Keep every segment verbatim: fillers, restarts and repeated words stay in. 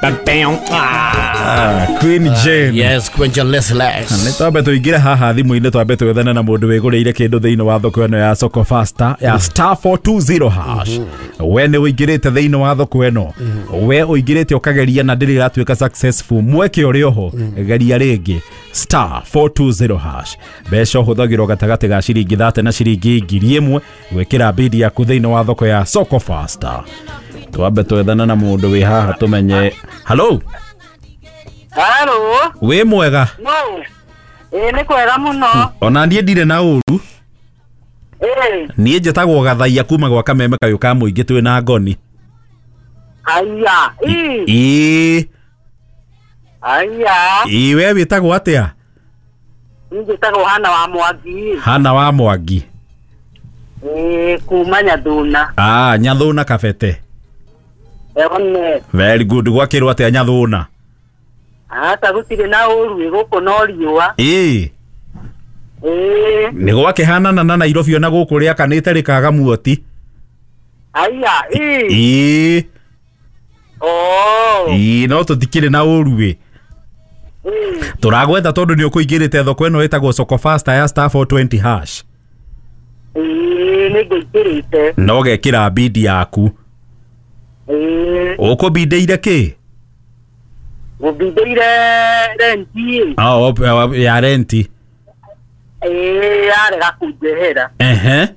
Ah, Queen Jane. Yes, Queen Jane Les Les. Nĩ twambe tũingĩre haha thimũ-inĩ, twambe twethane na mũndũ wĩgũrĩire kĩndũ thĩinĩ wa thoko ĩno ya Soko Fasta ya star four two zero hash. We nĩ ũingĩrĩte thĩinĩ wa thoko ĩno, we ũingĩrĩte ũkageria na ndĩrĩ ĩratuĩka successful, mweke ũrĩ oho, geria rĩngĩ star four two zero hash. Mbeca ũhũthagĩrwo gatagatĩ ga ciringi thate na ciringi ngiri ĩmwe gwĩkĩra bidi yaku thĩinĩ wa thoko ya Soko Fasta. Twambe twethane na mũndũ wĩ haha tũmenye. Hello. Hello. Wĩ mwega? No. Ĩ nĩ kwega mũno. Ona niĩ ndirĩ na ũru. Ĩ. Niĩ njĩtagwo Gathaia kuma gwa Kameme kayũ ka mũingĩ twĩ na ngoni. Aya. Ĩ. Ĩ. Aya. Ĩ we wĩtagwo atĩa? Niĩ njĩtagwo Hana wa Mwangi. Hana wa Mwangi. Ĩ kuma Nyathuna. Ah, Nyathuna Kabete. Eone. Very good. Gwakĩrwo atĩa Nyathuna? Ata gũtirĩ na ũru gũkũ no riũa. Ĩ. Ĩ. Nĩ gwakĩhanana na Nairobi ona gũkũ rĩakanĩte rĩkaga muoti. Aya, ĩ. Ĩ. Oh. Ĩ, no tũtikĩrĩ na ũru ĩ. Tũragwetha tondũ nĩ ũkũingĩrĩte thoko ĩno ĩtagwo Soko Fasta ya star four twenty hash. Ĩ, nĩ ngũingĩrĩte. Na ũgekĩra bidi yaku. Ĩ. Ũkũbindĩire kĩ? Ngũbindĩire renti. Ah, ya renti. Ĩ, yarega kũnjehera. Ehe.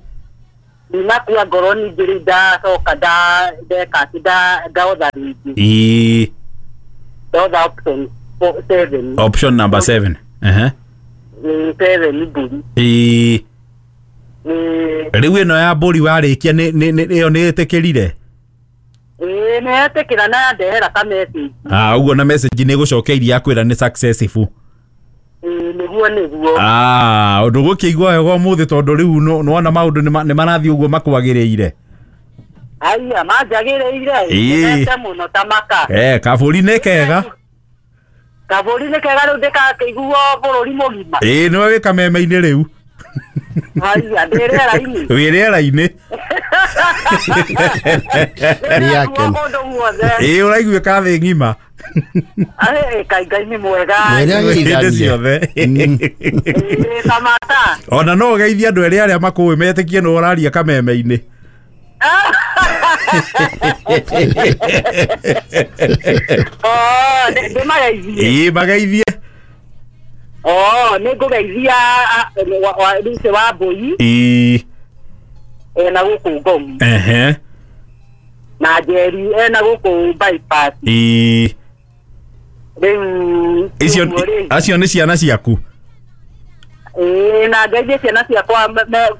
Ndinakua ngoro ningĩ rĩu ndacoka ndeka atĩ ndotha rĩngĩ. Ĩ. Ndotha option seven. Option number seven. Ehe. Ĩ, seven mbũri. Ĩ. Ĩ. Rĩu ĩno ya mbũri warĩkia nĩ nĩ ĩyo nĩ ĩtĩkĩrire? Ĩ, nĩ etĩkĩra na yandehera ka message. Ah, ũguo na message nĩ ĩgũcokeirie yakwĩra nĩ successful. Ĩ, nĩguo nĩguo. Ah, ũndũ gũkĩigua wega ũmũthĩ tondũ rĩu nĩwona maũndũ nĩ marathiĩ ũguo makwagĩrĩire. Aya, manjagĩrĩire. Ĩ. Nĩndete mũno ta maka. Eh, kabũri nĩ kega. Kabũri nĩ kega rĩu ndĩgakĩiguo bũrũri mũgima. Ĩ, nĩwe wĩ kameme-inĩ rĩu. Aya, ndĩ rĩera-inĩ. Wĩ rĩera-inĩ. Nĩ yake. Ĩ, ũraiguĩka thĩ ng'ima. Ĩ, Ngai Ngai nĩ mwega. Hĩndĩ ciothe. Ĩ, Kamata. Ona no ũgeithie andũ erĩ arĩa makũĩ metĩkie nĩ ũraria kameme-inĩ. Oh, ndĩmageithie. Ĩ, mageithie. Oh, nĩ ngũgeithia Lucy wa Mbũi. Ĩ. Ena gũkũ Ngomi. Ehe. Na Njeri ena gũkũ bypass. Ĩ. Rĩu icio acio nĩ ciana ciaku? Ĩ, na ngeithie ciana ciakwa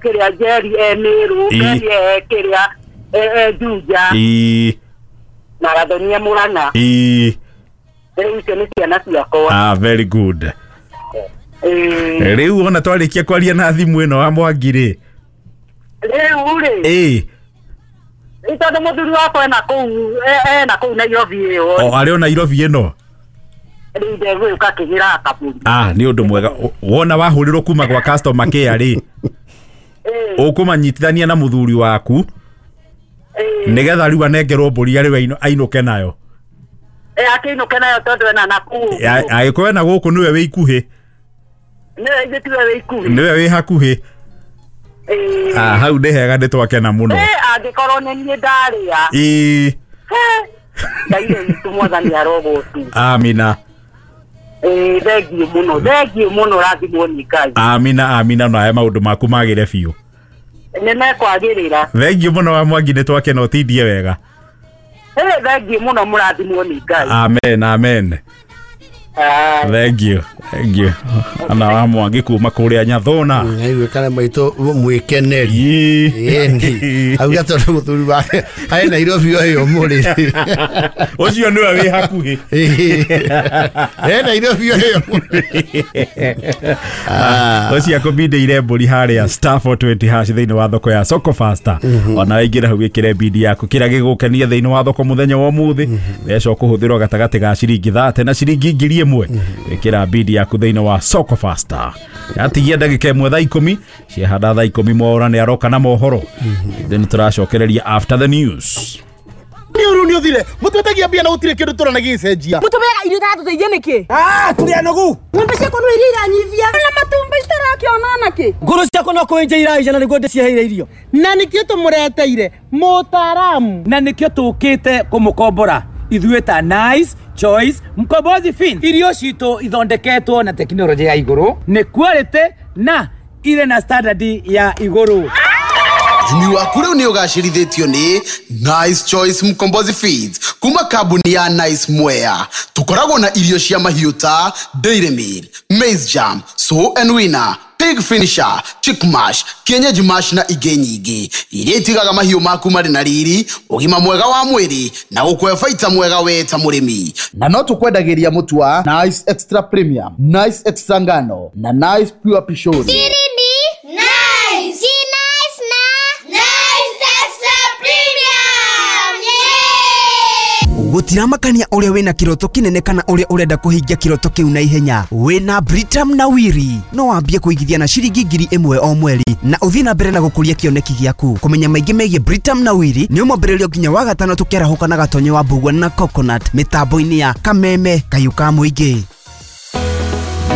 kĩrĩa Njeri e Mĩrũ, Njeri e kĩrĩa e Juja. Ĩ. Na Gathonia Mũrang'a. Ĩ. Rĩu icio nĩ ciana ciakwa. Ah, very good. Ĩ. Rĩu ona twarĩkia kwaria na thimũ ĩno wa Mwangi rĩ. Rĩu rĩ. Ĩ. Nĩ tondũ mũthuri wakwa ena kũu, ena kũu Nairobi ĩyo. O, arĩ o Nairobi ĩno? Rĩu ndegũka kĩgĩra kabũri. Ah, nĩ ũndũ mwega. Wona wahũrĩrwo kuma gwa customer care rĩ. Ũkũmanyitithania na mũthuri waku. Nĩgetha rĩu anengerwo mbũri arĩ ainũke nayo. Ĩ, akĩinũke nayo tondũ ena na kũu. Angĩkorwo ena gũkũ nĩwe wĩ ikuhĩ. Nĩwe ithuĩ tiwe wĩ ikuhĩ. Nĩwe wĩ hakuhĩ. Ah, hau nĩ hega nĩ twakena mũno. Ĩ, angĩkorwo nĩ niĩ ndarĩa. Ĩ. Ngai witũ mwathani arogocwo. Amina. Ĩ, thengiũ mũno, thengiũ mũno, rathimwo nĩ Ngai. Amina, amina, na aya maũndũ maku magĩre biũ. Nĩ mekwagĩrĩra. Thengiũ mũno wa Mwangi, nĩ twakena, ũtindie wega. Ĩ, thengiũ mũno, mũrathimwo nĩ Ngai. Amen, amen. Thank you, thank you. Ana wa Mwangi kuma kũrĩa Nyathuna. Ngaiguĩkana maitũ mwĩkeneri. Ĩni. Auga tondũ mũthuri wake arĩ Nairobi o ĩyo mũrĩ. Ũcio nĩwe wĩ hakuhĩ. E Nairobi o ĩyo mũrĩ. Ũcio akũbindĩire mbũri harĩa star four twenty hash thĩinĩ wa thoko ya Soko Fasta. Ona waingĩra hau wĩkĩre bidi yaku kĩrĩa gĩgũkenia thĩinĩ wa thoko mũthenya wa ũmũthĩ. Mbeca ũkũhũthĩrwo gatagatĩ ga ciringi thate na ciringi ngiri ĩmwe. Wĩkĩra bidi yaku thĩinĩ wa Soko Fasta. Yatigia ndagĩka ĩmwe thaa ikũmi, ciahanda thaa ikũmi Mwaura nĩ aroka na mohoro. Then tũracokereria after the news. Nĩ ũru nĩ ũthire mũtwetagia mbia na gũtirĩ kĩndũ tũrona gĩgĩcenjia. Mũtũmĩaga irio itatũteithia nĩkĩ? Ah, tũrĩ anogu. Ng'ombe ciakwa no iria iranyivia na matumbĩ itarakĩona nakĩ. Ngũrũ ciakwa no kũenja iraija na nĩguo ndĩciheire irio. Na nĩkĩo tũmũreteire mũtaaramu. Na nĩkĩo tũkĩte kũmũkombora ithuĩ ta Nice Choice Mkombozi Fin. Irio citũ ithondeketwo na tekinoronjĩ ya igũrũ, nĩ quality na irĩ na standard ya igũrũ. Ũrĩmi waku rĩu nĩ ũgacĩrithĩtio nĩ Nice Choice Mkombozi Feeds kuma kambuni ya Nice Mwea. Tũkoragwo na irio cia mahiũ ta Dairy Meal, Maize Jam, Sow and Winner, Pig Finisher, Chick Mash, Kienyeji Mash na ingĩ nyingĩ iria itigaga mahiũ maku marĩ na riri, ũgima mwega wa mwĩrĩ na gũkũhe baita mwega we ta mũrĩmi. Na no tũkwendagĩria mũtu wa Nice Extra Premium, Nice Extra Ngano na Nice Pure Pishori. Gutiramakania uria wina kiroto kinene kana uria urenda kuhingia kiroto kiu na ihenya, wina Britam na Wiri no wambie kuigithia na ciringi ngiri imwe o mweri na uthie na mbere na gukuria kioneki giaku. Kumenya maingi megie Britam na Wiri ni umwambĩrĩrio nginya wa gatano tukiarahũka na gatonyo wa mbugua na coconut mitambo-inĩ ya Kameme Kayũ ka Mũingĩ.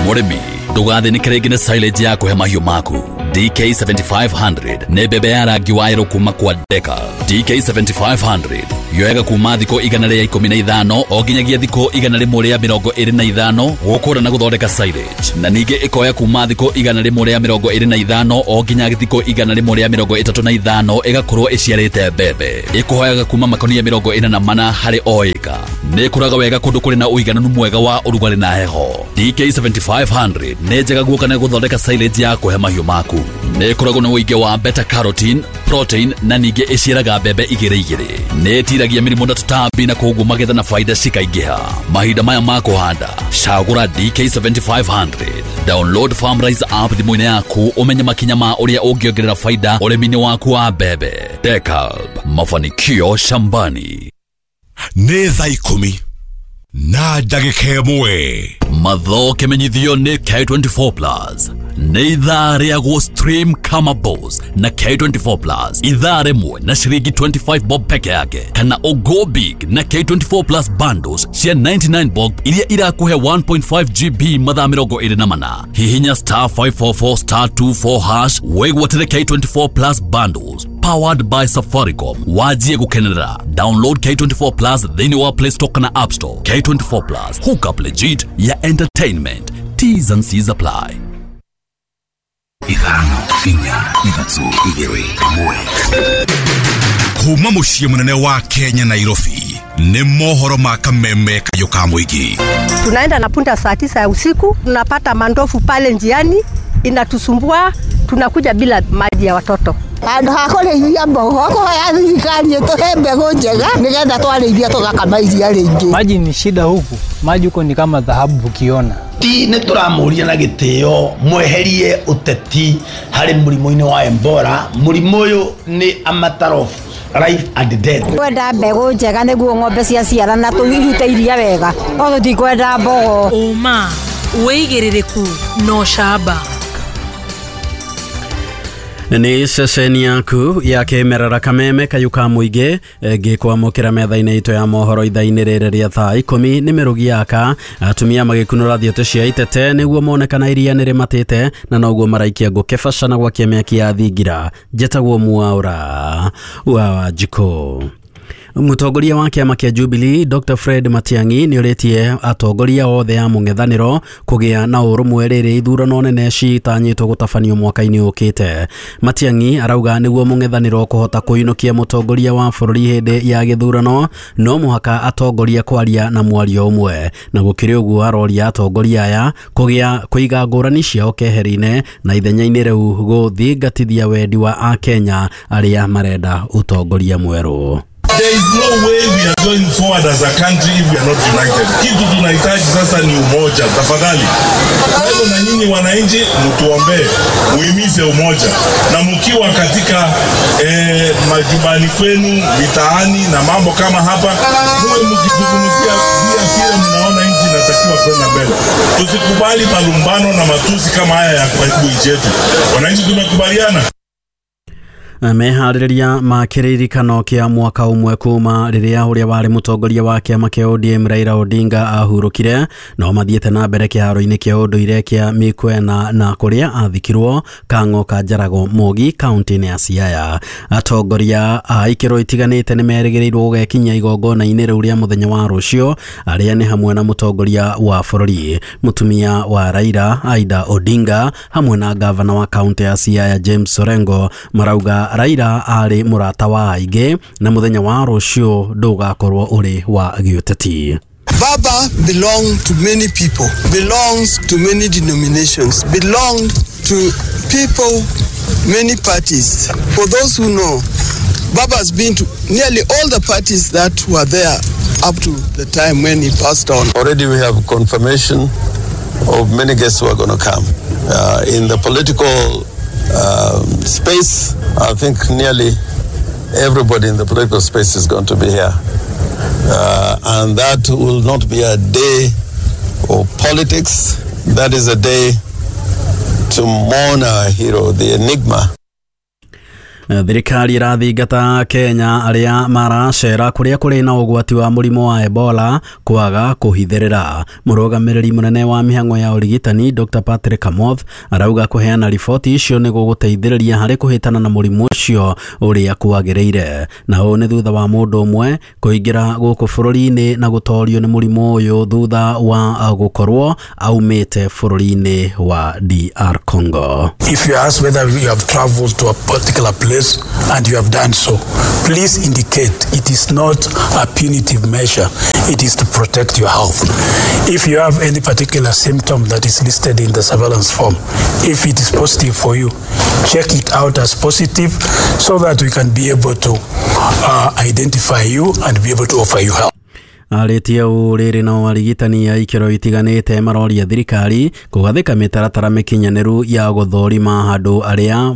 Mũrĩmi ndũgathĩnĩke rĩngĩ nĩ silage ya kũhe mahiũ maku. D K seven five hundred nĩ mbembe ya rangi wa yerũ kuma kwa Deka. D K seven five hundred yoyaga kuma thikũ igana rĩa ikũmi na ithano o nginyagia thikũ igana rĩmwe rĩa mĩrongo ĩrĩ na ithano gũkũra na gũthondeka silage, na ningĩ ĩkoya kuma thikũ igana rĩmwe rĩa mĩrongo ĩrĩ na ithano o nginya thikũ igana rĩmwe rĩa mĩrongo ĩtatũ na ithano ĩgakorwo ĩciarĩte mbembe. Ĩkũhoyaga kuma makonia mĩrongo ĩna na mana harĩ o ĩka. Nĩ ĩkũraga wega kũndũ kũrĩ na ũigananu mwega wa ũrugarĩ na heho. D K seven five hundred nĩ njega guoka na gũthondeka silage ya kũhe mahiũ maku. Nĩ ĩkoragwo na ũingĩ wa beta carotene, protein na ningĩ ĩciaraga mbembe igĩrĩ igĩrĩ. Nĩ ĩtiragia mĩrimũ na tũtambi na koguo magetha na faida cikaingĩha. Mahinda maya ma kũhanda, cagũra D K seven five hundred. Download FarmRise app thimũ-inĩ yaku ũmenye makinya ma ũrĩa ũngĩongerera faida ũrĩmi-inĩ waku wa mbembe. Decalb, mafanikio shambani. Nĩ thaa ikũmi na ndagĩka ĩmwe. Matho kĩmenyithio nĩ K twenty-four plus. Nĩ ithaa rĩa gũ stream kama boss na K twenty-four plus. Ithaa rĩmwe na ciringi twenty-five bob peke yake, kana o go big na K twenty-four plus bundles cia ninety-nine bob iria irakũhe one point five G B mathaa mĩrongo ĩrĩ na mana. Hihinya star five four four star two four hash wĩgwatĩre K twenty-four plus bundles powered by Safaricom. Wajie gukenerera. Download K twenty-four plus thĩinĩ wa Play Store kana App Store. K twenty-four plus, hook up legit ya entertainment. T's and C's apply. Ithano, inya, ithatũ, igĩrĩ, ĩmwe. Kuma mũciĩ mũnene wa Kenya Nairobi nĩ mohoro ma Kameme Kayũ ka Mũingĩ. Tunaenda na punda saa tisa ya usiku, tunapata mandofu pale njiani inatusumbua, tunakuja bila maji ya watoto. Handũ ha kũrĩithia mbogo kũhoya thirikari ĩtũhe mbegũ njega nĩgetha twarĩithia tũgakama iria rĩingĩ. Maji ni shida huku, maji huko ni kama dhahabu ukiona. Ti nĩ tũramũria na gĩtĩo mweherie ũteti harĩ mũrimũ-inĩ wa Ebola. Mũrimũ ũyũ nĩ a matter of life and death. Kwenda mbegũ njega nĩguo ng'ombe ciaciarana tũirute iria wega, no tũtikwenda mbogo. Ũma, wĩigĩrĩrĩku na ũcamba. Nĩ ceceni yaku ya kĩmerera Kameme Kayũ ka Mũingĩ ngĩkwamũkĩra metha-inĩ itũ ya mohoro ithaa-inĩ rĩrĩ rĩa thaa ikũmi nĩ mĩrũgi yaka atumia magĩkunũra thiote cia itete nĩguo mone kana iria nĩ rĩmatĩte na noguo maraikia ngũ kĩbaca na gwakia mĩaki ya thingira. Njetagwo Mwaura wa Wanjikũ. Mũtongoria wa kĩama kĩa Jubilee Doctor Fred Matiang'i nĩorĩtie atongoria othe a mũng'ethanĩro kũgĩa na ũrũmwe rĩrĩ ithurano nene citanyĩtwo gũtabanio mwaka-inĩ ũkĩte. Matiang'i arauga nĩguo mũng'ethanĩro kũhota kũinũkia mũtongoria wa bũrũri hĩndĩ ya gĩthurano no mũhaka atongoria kwaria na mwario ũmwe, na gũkĩrĩ ũguo aroria atongoria aya kũgĩa kũiga ngũrani ciao keheri-inĩ na ithenya-inĩ rĩu gũthingatithia wendi wa Akenya arĩa marenda ũtongoria mwerũ. There is no way we are going forward as a country if we are not united. Kitu tunahitaji sasa ni umoja, tafadhali. Kwa hivyo na nyinyi wananchi mtuombee, muhimize umoja. Na mkiwa katika eh, majumbani kwenu, mitaani na mambo kama hapa, muwe mkizungumzia vile mnaona nchi inatakiwa kwenda mbele. Tusikubali malumbano na matusi kama haya ya kuharibu nchi yetu. Wananchi tumekubaliana. Meharĩrĩria ma kĩririkano kĩa mwaka ũmwe kuma rĩrĩa ũrĩa warĩ mũtongoria wa kĩama kĩa O D M Raila Odinga ahurũkire no mathiĩte na mbere kĩharo-inĩ kĩa ũndũire kĩa Mĩkwena na kũrĩa athikirwo Kang'o ka Njarago Mogi kaunti-inĩ ya Siaya. Atongoria a ikĩro itiganĩte nĩ merĩgĩrĩirwo gũgekinyia igongona-inĩ rĩu rĩa mũthenya wa rũciũ, arĩa nĩ hamwe na mũtongoria wa bũrũri mũtumia wa Raila Aida Odinga hamwe na gavana wa kaunti ya Siaya James Orengo. Marauga Raila arĩ mũrata wa aingĩ na mũthenya wa rũciũ ndũgakorwo ũrĩ wa gĩũteti. Baba belonged to many people, belongs to many denominations, belonged to people, many parties. For those who know, Baba has been to nearly all the parties that were there up to the time when he passed on. Already we have confirmation of many guests who are going to come. Uh, in the political um, space, I think nearly everybody in the political space is going to be here. Uh, and that will not be a day of politics. That is a day to mourn our hero, the enigma. Thirikari irathingata Kenya arĩa maracera kũrĩa kũrĩ na ũgwati wa mũrimũ wa Ebola kwaga kũhithĩrĩra. Mũrũgamĩrĩri mũnene wa mĩhang'o ya ũrigitani Doctor Patrick Amoth arauga kũheana riboti icio nĩ gũgũteithĩrĩria harĩ kũhĩtana na mũrimũ ũcio ũrĩa kwagĩrĩire. Na ũũ nĩ thutha wa mũndũ ũmwe kũingĩra gũkũ bũrũri-inĩ na gũtorio nĩ mũrimũ ũyũ thutha wa gũkorwo aumĩte bũrũri-inĩ wa D R Congo. If you ask whether you have traveled to a particular place and you have done so, please indicate. It is not a punitive measure. It is to protect your health. If you have any particular symptom that is listed in the surveillance form, if it is positive for you, check it out as positive so that we can be able to uh, identify you and be able to offer you help. Arĩtie ũũ rĩrĩ no arigitani a ikĩro itiganĩte maroria thirikari kũgathĩka mĩtaratara mĩkinyanĩru ya gũthũrima andũ arĩa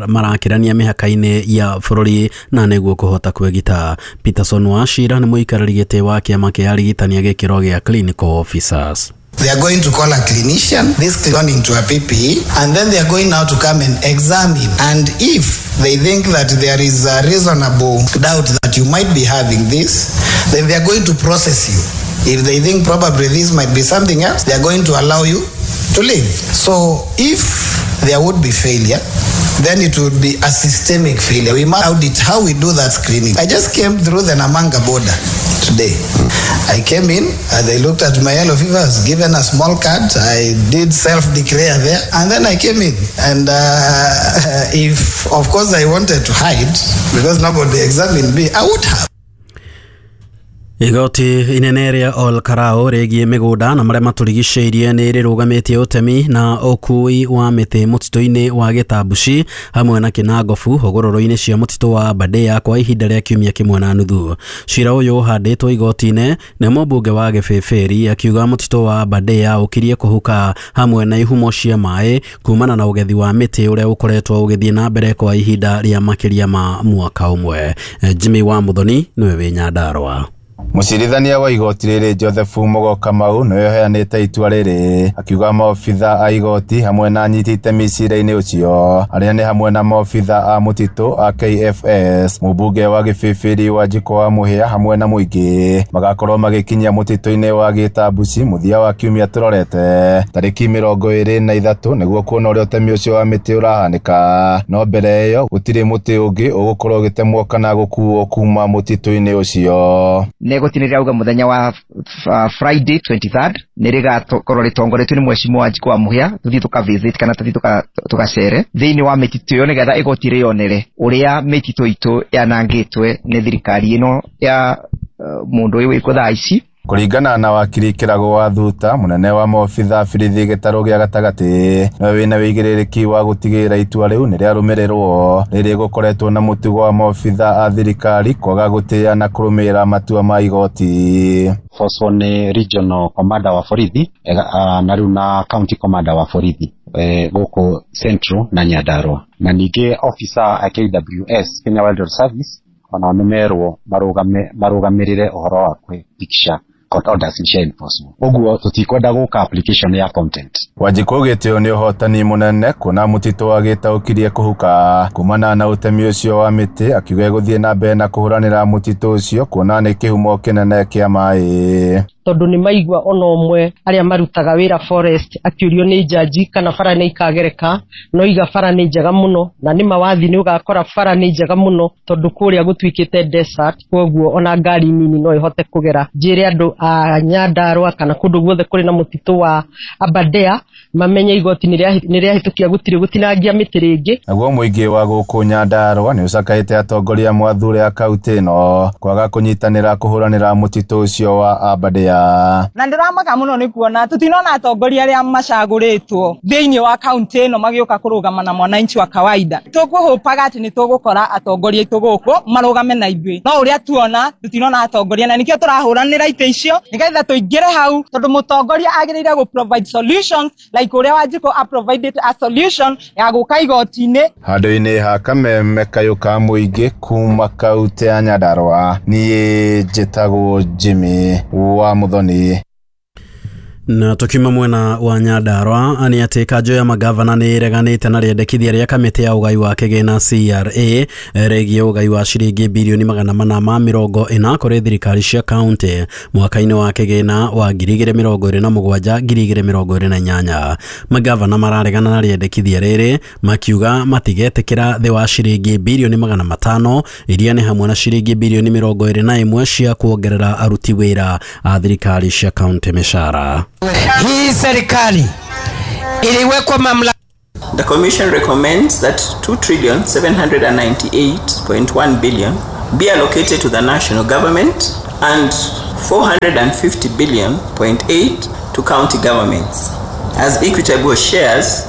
marakĩrania mĩhaka-inĩ ya bũrũri na nĩguo kũhota kwĩgita. Peterson Wachira nĩ mũikarĩri gĩtĩ wa kĩama kĩa arigitani a gĩkĩro gĩa clinical officers. They are going to call a clinician, this clinician into a P P E, and then they are going now to come and examine. And if they think that there is a reasonable doubt that you might be having this, then they are going to process you. If they think probably this might be something else, they are going to allow you to leave. So if there would be failure, then it would be a systemic failure. We must audit how we do that screening. I just came through the Namanga border today. I came in, uh, they looked at my yellow fever, I was given a small card, I did self-declare there, and then I came in. And uh, if, of course, I wanted to hide, because nobody examined me, I would have. Igoti inene rĩa Ol Kalou rĩgiĩ mĩgũnda na marĩa matũrigicĩirie nĩ rĩrũgamĩtie ũtemi na ũkui wa mĩtĩ mũtitũ-inĩ wa Gĩtambuci hamwe na Kĩnangobu hũgũrũrũ-inĩ cia mũtitũ wa Aberdare kwa ihinda rĩa kiumia kĩmwe na nuthu. Cira ũyũ ũhandĩtwo igoti-inĩ nĩ mũmbunge wa Gĩbĩbĩri akiuga mũtitũ wa Aberdare ũkirie kũhuka hamwe na ihumo cia maĩ kumana na ũgethi wa mĩtĩ ũrĩa ũkoretwo ũgĩthiĩ na mbere kwa ihinda rĩa makĩria ma mwaka ũmwe. Jimmy wa Muthoni nĩwe wĩ Nyandarũa. Mũcirithania wa igoti rĩrĩ Joseph Mugo Kamau nĩwe ũheanĩte itua rĩrĩ akiuga maobitha a igoti hamwe na anyiti itemi cira-inĩ ũcio arĩa nĩ hamwe na maobitha a mũtitũ a K F S mũmbunge wa Gĩbĩbĩri wa Njiko wa Mũhĩa hamwe na mũingĩ magakorwo magĩkinyia mũtitũ-inĩ wa Gĩtambuci mũthia wa kiumia tũrorete tarĩki mĩrongo ĩrĩ na ithatũ nĩguo kuona ũrĩa ũtemi ũcio wa mĩtĩ ũrahanĩka. No mbere ĩyo gũtirĩ mũtĩ ũngĩ ũgũkorwo ũgĩtemwo kana gũkuo kuma mũtitũ-inĩ ũcio. Igoti nĩ rĩrauga mũthenya wa Friday twenty-third nĩ rĩgakorwo rĩtongoretio nĩ mheshimiwa Wanjikũ wa Mũhĩa tũthiĩ tũka visit kana tũthiĩ tũgacere thĩinĩ wa mĩtitũ ĩyo nĩgetha igoti rĩonere ũrĩa mĩtitũ itũ yanangĩtwe nĩ thirikari ĩno ya mũndũ ũyũ wĩkwo thaa ici. Kũringana na wakiri Kĩrago wa Thuta mũnene wa maobitha birithi gĩtarũ gĩa gatagatĩ nĩwe wĩna wĩigĩrĩrĩki wa gũtigĩrĩra itua rĩu nĩ rĩarũmĩrĩrwo rĩrĩ gũkoretwo na mũtugo wa maobitha a thirikari kwaga gũtĩĩa na kũrũmĩrĩra matua ma igoti. Force nĩ regional commander wa borithi na rĩu na county commander wa borithi gũkũ Central na Nyandarua na ningĩ officer a K W S Kenya Wildlife Service ona nĩ merwo marũgamĩrĩre ũhoro wa kwĩhakikisha Court orders nĩ cia enforce. Ũguo tũtikwenda gũka application ya content. Wanjikũ augĩte ũyũ nĩ ũhotani mũnene kuona mũtitũ agĩtaũkirie kũhuka kumana na ũtemi ũcio wa mĩtĩ, akiuga egũthiĩ na mbere na kũhũranĩra mũtitũ ũcio kuona nĩ kĩhumo kĩnene kĩa maĩ. Tondũ nĩ maigua ona ũmwe arĩa marutaga wĩra forest akĩũrio nĩ jaji kana bara nĩ ikagereka, no iga bara nĩ njega mũno, na nĩ mawathi nĩ ũgakora bara nĩ njega mũno tondũ kũrĩa gũtuĩkĩte desert, kwoguo ona ngari nini no ĩhote kũgera. Njĩre andũ a Nyandarua kana kũndũ guothe kũrĩ na mũtitũ wa Aberdare mamenye igoti nĩ rĩahĩtũkia gũtirĩ gũtinangia mĩtĩ rĩngĩ. Naguo mũingĩ wa gũkũ Nyandarua nĩ ũcakaĩte atongoria mwathure a kaunti ĩno kwaga kũnyitanĩra kũhũranĩra mũtitũ ũcio wa Aberdare. Na ndĩramaka mũno nĩ kuona tũtinona atongoria arĩa macagũrĩtwo thĩinĩ wa kaunti ĩno magĩũka kũrũgama na mwananchi wa kawaida. Tũkũhũpaga atĩ nĩ tũgũkora atongoria aitũ gũkũ marũgame na ithuĩ, no ũrĩa tuona tũtinona atongoria, na nĩkĩo tũrahũranĩra itĩ icio nĩgetha tũingĩre hau, tondũ mũtongoria agĩrĩire gũ provide solutions like ũrĩa Wanjikũ a provided a solution ya gũka igoti-inĩ. Handũ-inĩ ha kameme kayũ ka mũingĩ kuma kaunti ya Nyandarua, niĩ njĩtagwo Jimmy wa Muthoni. Na tukiuma mwena wa Nyandarua nĩ atĩ kanjũ ya magavana nĩ ĩreganĩte na rĩendekithia rĩa kamĩtĩ ya ũgai wa kĩgĩna C R A rĩgiĩ ũgai wa ciringi birioni magana mana ma mĩrongo ĩna kũrĩ thirikari cia kaunti mwaka-inĩ wa kĩgĩna wa ngiri igĩrĩ mĩrongo ĩrĩ na mũgwanja ngiri igĩrĩ mĩrongo ĩrĩ na inyanya. Magavana mararegana na rĩendekithia rĩrĩ makiuga matigetĩkĩra thĩ wa ciringi birioni magana matano iria nĩ hamwe na ciringi birioni mĩrongo ĩrĩ na ĩmwe cia kuongerera aruti wĩra a thirikari cia kaunti mĩcara. Hii serikali iliwekwa mamlaka. The Commission recommends that two trillion seven hundred ninety-eight point one billion be allocated to the national government and four hundred fifty billion point eight to county governments as equitable shares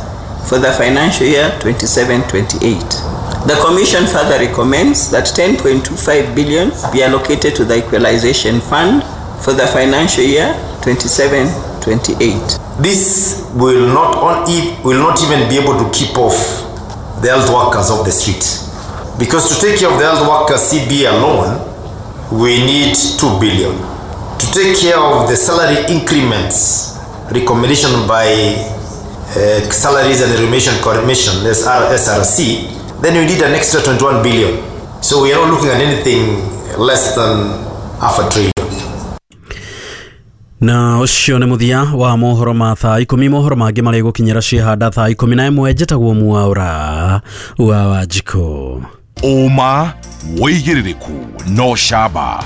for the financial year twenty-seven twenty-eight. The Commission further recommends that ten point two five billion be allocated to the Equalization Fund for the financial year twenty-seven twenty-eight. This will not on will not even be able to keep off the health workers off the street, because to take care of the health workers C B alone, we need two billion. To take care of the salary increments recommendation by uh, Salaries and Remuneration Commission S R C, then we need an extra twenty-one billion. So we are not looking at anything less than half a trillion. Na ũcio nĩ mũthia wa mohoro ma thaa ikũmi. Mohoro mangĩ marĩ gũkinyĩra ciĩhanda thaa ikũmi na ĩmwe. Njĩtagwo Mwaũra wa Wanjikũ. Ũma wĩigĩrĩrĩku no camba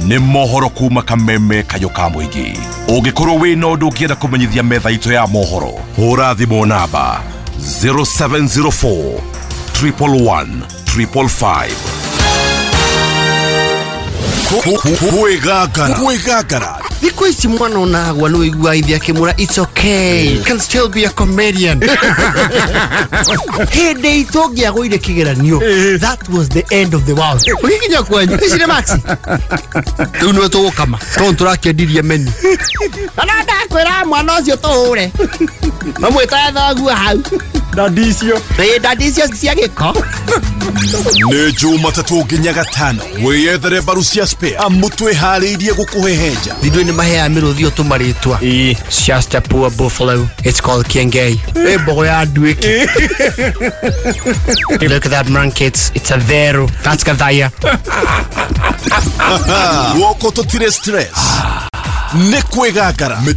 nĩ mohoro kuma kameme kayũ ka mũingĩ. Ũngĩkorwo wĩna ũndũ ũngĩenda kũmenyithia metha itũ ya mohoro, hũra thimũ namba zero seven zero four triple one triple five. Kwĩgangara kwĩgangara thikũ ici mwana onagwa nĩ ũigua ithe akĩmwĩra it's okay, you can still be a comedian. Hĩndĩ itũ ũngĩagũire kĩgeranio, that was the end of the world. Ũgĩkinya kwanyu ici nĩ maxi rĩu nĩwe tũgũkama tondũ tũrakĩendirie menu. Na ndakwĩra mwana ũcio tũhũre mamwĩtaga thoguo hau ndandi icio ndandi icio cia gĩko. Nĩ Jumatatũ nginya Gatano wĩyethere mbaru cia spare amu twĩharĩirie gũkũhehenja. Ithuĩ nĩ maheaga mĩrũthi ũtũmarĩtwa. It's just a poor buffalo. It's called Kiengei. Ĩ mbogo ya nduĩki. Look at that monkey. It's, it's a vero. That's Gathaya. Guoko tũtirĩ stress. Nĩ kwĩgangara.